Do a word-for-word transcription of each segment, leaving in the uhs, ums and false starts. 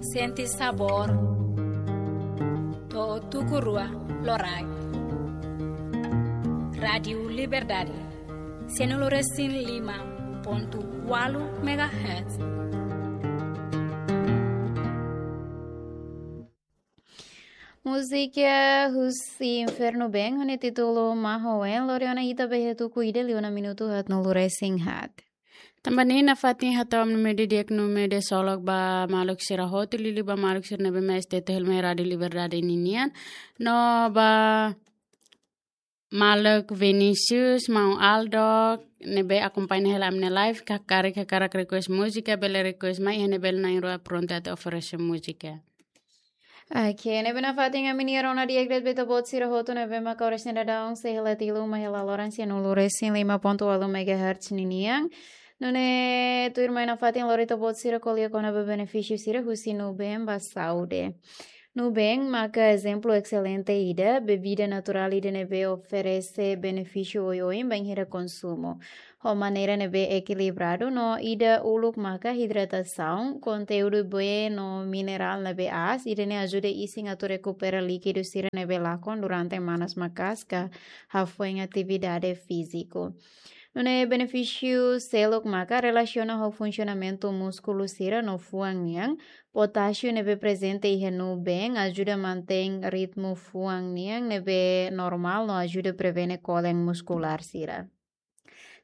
Sente sabór. To'o tuku rua loraik. Rádiu Liberdade, sianulu resin lima pontu ualu megahertz. Múzika husi Infernu Band, ho nia títulu Maho Wen, lori ona ita ba iha tuku ida liu ona minutu haatnulu resin haat. Tanba ne'e nafatin hato'o ami-nia media di'ak no media ksolok ba maluk sira hotu, liuliu ba maluk sira ne'ebé mak S T T hela mai Rádiu Liberdade ninian. No ba maluk Vinicius, maun Aldo, ne'ebé akompaña hela ami-nia live, karik hakarak request múzika, bele request mai, iha ne'e bele na'in-rua prontu atu oferese múzika. Oke, ne'ebé nafatin ami-nia rona di'ak de'it ba ita-boot sira hotu ne'ebé mak oras ne'e daudaun sei hela tiha uma hela loron sianulu resin lima pontu ualu megahertz ninian. Nune'e tuirmai nafatin lori ita-boot sira ko'alia kona-ba benefísiu sira husi Nuben ba saúde. Nuben maka ezemplu excelente ida, bebida naturál ida ne'ebé oferese benefísiu oioin bainhira konsumu ho maneira ne'ebé ekilibradu no ida uluk maka hidratasaun, konteúdu bee no minerál ne'ebé aas, ida-ne'e ajuda isin atu rekupera líkidu sira ne'ebé lakon durante manas maka'as ka hafoin atividade fíziku. Nune'e benefísiu seluk maka relasiona ho funsionamentu múskulu sira no fuan nian, potásiu ne'ebé prezente iha Nuben ajuda mantein ritmu fuan nian ne'ebé normál no ajuda prevene kolen muskulár sira.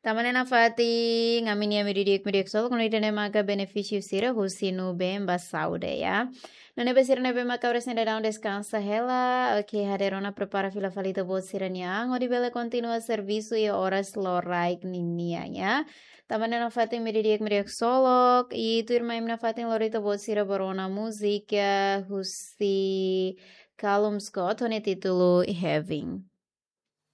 Tanba ne'e nafatin ami-nia media di'ak, media ksolok, no ida-ne'e maka benefísiu sira husi Nuben ba saúde, ya. No ne'ebé sira ne'ebé maka oras ne'e daudaun deskansa hela, oke, hadeer ona prepara fila fali ita-boot sira-nia an, hodi bele kontinua servisu iha oras loraik ninian, ya. Tanba ne'e nafatin media di'ak, media ksolok, i tuirmai ami nafatin lori ita-boot sira ba rona múzika husi Calum Scott, ho nia títulu Heaven.